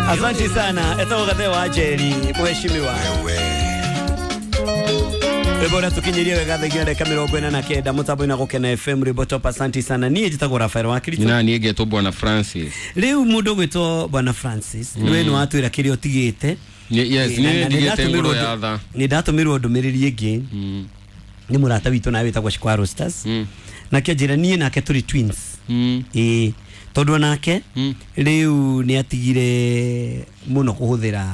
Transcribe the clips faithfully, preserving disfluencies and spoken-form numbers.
Asante sana etagwo Gathe wa Njeri, mheshimiwa. Rwĩmbo ũrĩa tũkinyirie wega thaa igĩrĩ na ndagĩka mĩrongo ĩna na kenda mũtambo-inĩ wa Gũkena F M, rwĩmbo top. Asante sana. Niĩ njĩtagwo Rafael wa Kirito. Na niĩ ngetwo Bwana Francis. Rĩu mũndũ ũgwĩtwo Bwana Francis, nĩwe nĩ watwĩra kĩrĩa ũtigĩte. Nĩ- yes. Eh, na- Nĩ na nĩ ndigĩte ndatũmĩrwo ngũrũ ndũ- ya tha. Nĩ ndatũmĩrwo ndũmĩrĩri ĩngĩ Mm. nĩ mũrata witũ nawe wĩtagwo Shikwa Rosters, Mm. nake anjĩra niĩ nake tũrĩ twins. Mm. Ĩĩ, tondũ onake Mm. rĩu nĩ atigire mũno kũhũthĩra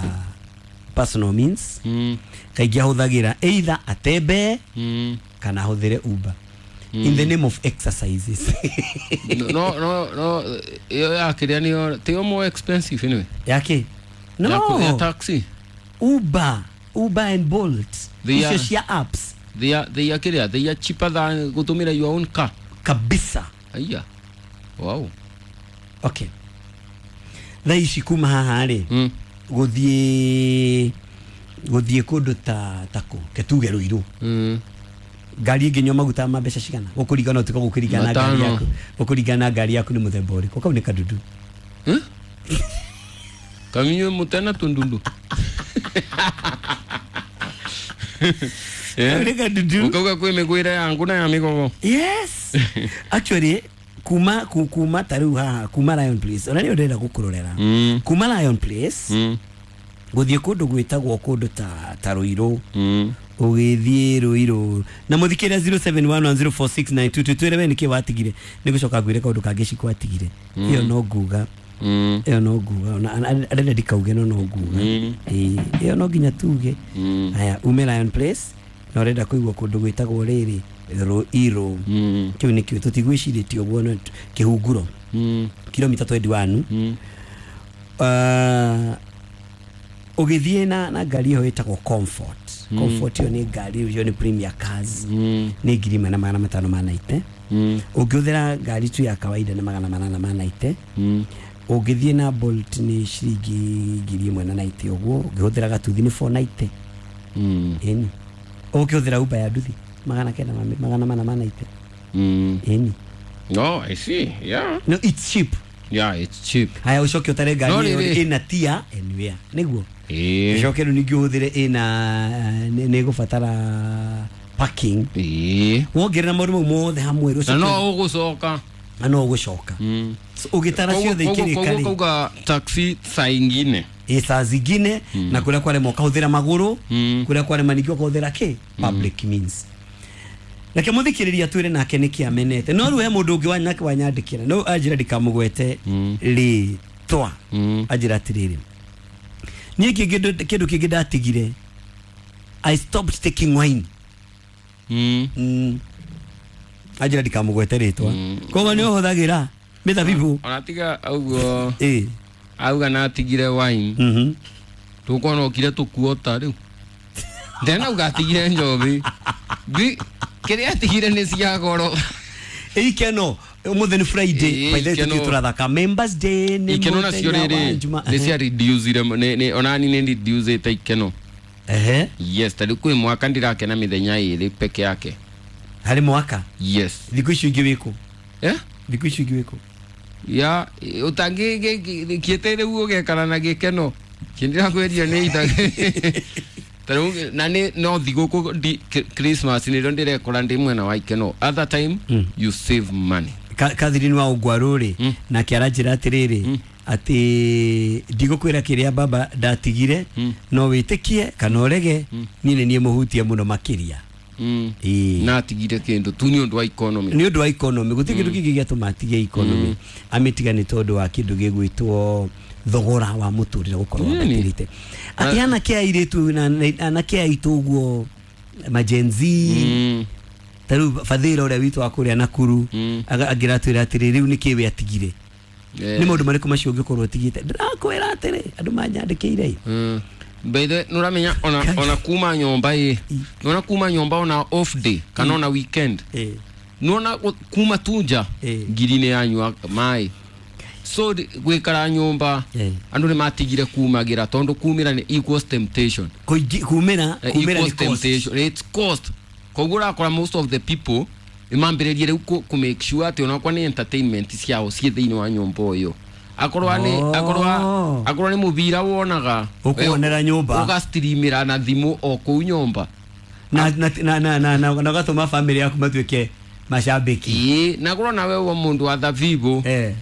personal means. Mm. Kaingĩ ahũthagĩra either atembee Mm. kana ahũthĩre Uber in the name of exercises. no no no ĩyo ya kĩrĩa nĩyo tiyo more expensive anyway. Yake no. Ya ku- ya taxi. Uber, Uber and Bolt. They icio are- cia apps. they are they are kĩrĩa, they are cheaper than gũtũmĩra your own car. Kabisa. Aya, wow. Okay, thaa ici kuma haha rĩ, mm. gũthiĩ gũthiĩ kũndũ ta takũ ketuge Rũirũ, Mm. ngari ĩngĩnyua maguta ma mbeca cigana? Gũkũringana ũtuĩka gũkũringana na ngari Matano. yaku, gũkũringana na ngari yaku nĩ mũthemba ũrĩkũ. Kau nĩ kadudu. Eh? Kaminywe mutena tundundu. Kau nĩ kadudu. Ukauga kwĩ mĩgwĩre yangu na ya mĩgogo. Yes, actually kuma ku- kuma ta rĩu haha kuma Lion Place, ona nĩyo ndĩrenda gũkũrorera, Mm. kuma Lion Place Mm. gũthiĩ kũndũ gwĩtagwo kũndũ ta ta Rũirũ, Mm. ũgĩthiĩ Rũirũ na mũthikĩria zero seven one one zero four six nine two two, twĩre we nĩkĩ watigire. Nĩ gũcoka ngwĩre kaũndũ kangĩ Cikũ atigire. Ĩyo no nguga, Mm. ĩyo no nguga, ona arenda ndikauge, no no nguga. Mm. Ĩĩ, ĩyo no nginya tuge. Mm. Haya, ume Lion Place na ũrenda kũigua kũndũ gwĩtagwo rĩrĩ Rũirũ, Mm. kĩu nĩkĩo tũtigwĩcirĩtie ũguo, no kĩhunguro, Mm. kilomita twenty-one. Mm. uh, ũgĩthiĩ na, na ngari ĩyo ĩtagwo Comfort. Comfort ĩyo nĩ ngari ĩyo nĩ premier cars, Mm. nĩ ngiri ĩmwe na magana matano ma naite. Mm. Ũngĩhũthĩra ngari tu ya kawaida nĩ magana manana ma naite. Mm. Ũngĩthiĩ na Bolt nĩ ciringi ngiri ĩmwe na naite ũguo. Ũngĩhũthĩra gatuthi nĩ four ninety. Mm. Ĩni, ũngĩhũthĩra Uber ya nduthi magana kenda ma- magana mana ma naite. Mm. Ĩni. No, I see. Yeah. No, it's cheap. Yeah, it's cheap. Haya, ũcoke ũtare ngari No, ĩyo rĩrĩ. ĩna tia anywhere nĩguo Eh. ũcoke rĩu ningĩ ũhũthĩre ĩna nĩ nĩ ĩgũbatara parking. Eh. Wongerera maũndũ mau mothe hamwe rĩ, Na ũcoke- no ũgũcoka. Na no ũgũcoka. Mm. So, ũgĩtara ciothe ikĩrĩka Koguo rĩ, kauga taxi saa ingine. Ĩ, saa zingine, na kũrĩa kwarema ũkahũthĩra magũrũ, Mm. kũrĩa kwarema ningĩ ũkahũthĩra kĩ public means. Reke mũthikĩrĩria twĩre nake nĩkĩ amenete. No rĩu he mũndũ ũngĩ wanyake wanyandĩkĩra, no anjĩra ndikamũgwete Mm. rĩtwa. Mm. Anjĩra atĩrĩrĩ, niĩ kĩngĩ kĩndũ kĩngĩ ndatigire, I stopped taking wine. Mm. mm. Anjĩra ndikamũgwete rĩtwa. Mm. Koguo nĩ ũhũthagĩra mĩthabibũ? Ona tiga ũguo, ĩ auga na atigire wine. Mhm. Tukuona okire tukuota rĩu. Ndena auga atigire njobi. Bi kĩrĩa atigire nĩ cia goro. Ĩ, ikeno ũmũthĩ nĩ Friday. Ĩ, By the way, ikeno. tũthiĩ tũrathaka Members Day nĩ Ikeno nacio mũthenya wa rĩrĩ Njuma. nĩ cia reduce nĩ nĩ onani nĩ reduce ikeno. Ehe. Yes, tarĩu kwĩ mwaka ndirakena mĩthenya ĩrĩ peke yake. Harĩ mwaka? Yes. Thikũ icio ingĩ wĩkũ? Eh? Thikũ icio ingĩ wĩkũ? Ya ũtangĩkĩte rĩu ũgekara na gĩkeno kĩndĩrakwĩria nĩ ita tarĩu na nĩ no thigũkũ ndi- K- Christmas nĩrĩo ndĩrekora ndĩ mwena wa ikeno. Other time Mm. you save money. Ka- Catherine wa Ũngwarũ rĩ, Mm. nake aranjĩra atĩrĩrĩ, atĩ ndigũkwĩra kĩrĩa baba ndatigire, Mm. no wĩtĩkie kana ũrege, niĩ nĩ niĩ mũhutie mũno makĩria. Mm. Ĩĩ. Na atigire kĩndũ tu nĩ ũndũ wa economy. Nĩ ũndũ wa economy. Gũtirĩ kĩndũ kĩngĩ gĩatũma atige economy. Amĩtiga nĩ tondũ wa kĩndũ gĩgwĩtwo thogora wa mũtũrĩre gũkorwo Ĩni. wambatĩrĩte, atĩ anake a airĩtu na na- anake aitũ ũguo ma Gen Z, Mm. ta rĩu Bathĩra ũrĩa witũ wa kũrĩa Nakuru, Mm. aga- angĩratwĩra atĩrĩ, rĩu nĩkĩ we atigire? Eh. Nĩ maũndũ marĩkũ macio ũngĩkorwo ũtigĩte? Ndĩrakwĩra atĩrĩ, andũ manyandĩkĩire. Mm. By the way, nũramenya ona, ona kuma nyomba ĩ, nona kuma nyomba ona off day kana ona weekend, Eh. nona kuma tunja Eh. ngiri nĩ yanyua maĩ, so ri- gwikara nyomba, Eh. andu nĩ matigire kumagĩra tondu kumĩra nĩ equals temptation. Kũingĩ- kumĩra Eh, kumĩra equals nĩ cost. Temptation, it's cost. Koguo ũrakora most of the people nĩ mambĩrĩrie rĩu kũ kũ make sure atĩ onakorwo nĩ entertainment ciao ciĩ thĩinĩ wa nyũmba ũyũ. Akorwa ni akorwa akorwa ni mubira wonaga ukuonera nyumba ugastreamira na thimu o kuu nyumba na na na na na na gatuma family yaku matuike mashabiki ii na korwo nawe wa mundu wa thabibu eh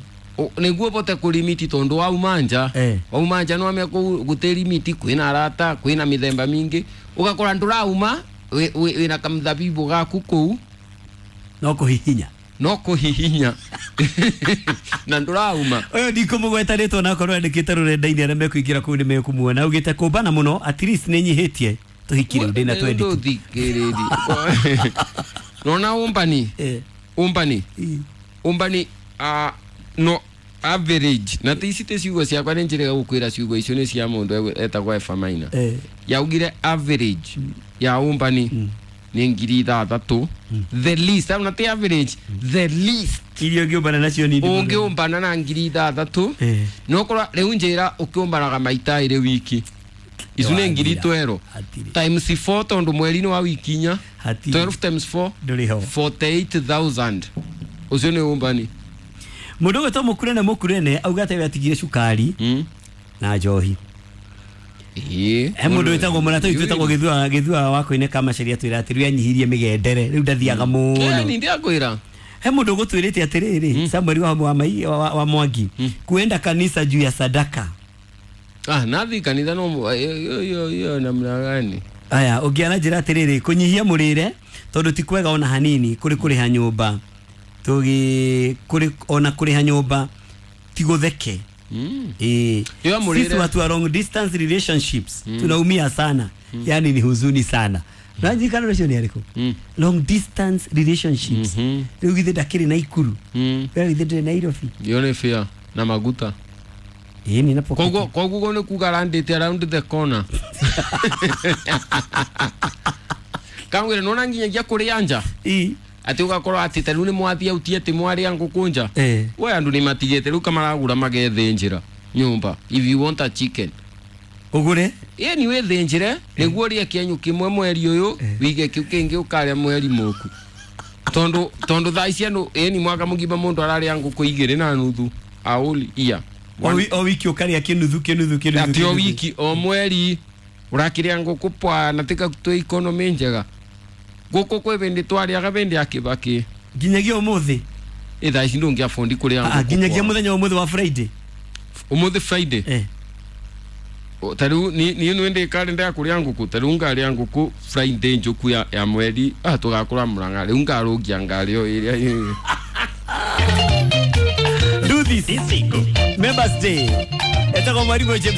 niguo bote kulimiti tondu wa umanja eh. wa umanja no ame guterimiti kwina arata kwina mithemba mingi ugakora ndurauma wina kamthabibu gaku kuu no kuhihinya no kuhihinya na ndurauma uyu ndikumugweta ritwa na korwo andikite rurenda-ini aria mekuingira kuu ni mekumuona augite kumbana muno at least ni nyihitie tuhikire ndina twendi tuthikiriri nona umbani eh. umbani umbani uh, no average na ti ici ti ciugo ciakwa nĩ njĩrĩga gũkwĩra ciugo icio nĩ cia mũndũ etagwo Efa Maina eh. yaugire average mm. ya umbani mm. nĩ ngiri ithathatũ mm. the least na ti average mm. the least iria ũngĩũmbana nacio nini ũngĩũmbana na ngiri ithathatũ eh. no korwo rĩu njĩra ũkĩũmbanaga maita ĩrĩ wiki icu nĩ ngiri twelve times four tondũ mweri-inĩ wa wiki inya twelve times four forty-eight thousand ũcio nĩ ũmbani mundu gwetwo mukurene mukurene auga ati atigire cukari mm. na njohi ii he mundu witagwo murata witu witagwo githua githua wa koine kama sheria twira ati riu anyihirie migendere riu ndathiaga muno ni ndiakwira he mundu gutwirite atiriri Samuel wa wa, wa, wa Mwangi mm. kuenda kanisa juu ya sadaka ah nathi kanitha no yo yo yo namna gani aya ungiana njira atiriri kunyihia murire tondu ti kwega ona hanini kuri kuriha nyumba tugi kuri ona kuriha nyumba ti gutheke mm. eh sisi watu wa long distance relationships mm. tunaumia sana mm. yani ni huzuni sana mm. nanjikana rũcio ni ariko mm. long distance relationships mm riu githe ndakiri na Ikuru mm. riu githe ndiri Nairobi yo ni fear na maguta eh ni napo koguo koguo ni kuga landite around the corner kangwira nona nginyagia kuria nja ii ati ugakorwo ati ta riu ni mwathia utie ati mwaria ngukunja eh we andu ni matigite riu kamaragura magethinjira nyumba if you want a chicken ugure ĩ ni withinjire niguo rie kienyu kimwe mweri uyu wige kiu kingi ukaria mweri muku tondu tondu thaa ici andu ĩ ni mwaka mugima mundu araria nguku igiri na nuthu auli iya o wiki ukaria kinuthu kinuthu kinuthu ati o wiki o mweri urakiria nguku pwa na tika twi economy njega guku kwi bindi twariaga bindi ya Kibaki nginyagia umuthi ĩ thaa ici ndũngĩabondi kũrĩa ah nginyagia muthenya umuthi wa Friday umuthi Friday eh ta riu ni ni ndi kalenda ya kuria nguku ta riu ngaria nguku Friday njuku ya, ya mweri ah tugakura Murang'a riu ngarungia ngario iria do this members day etagwo Mwarimu James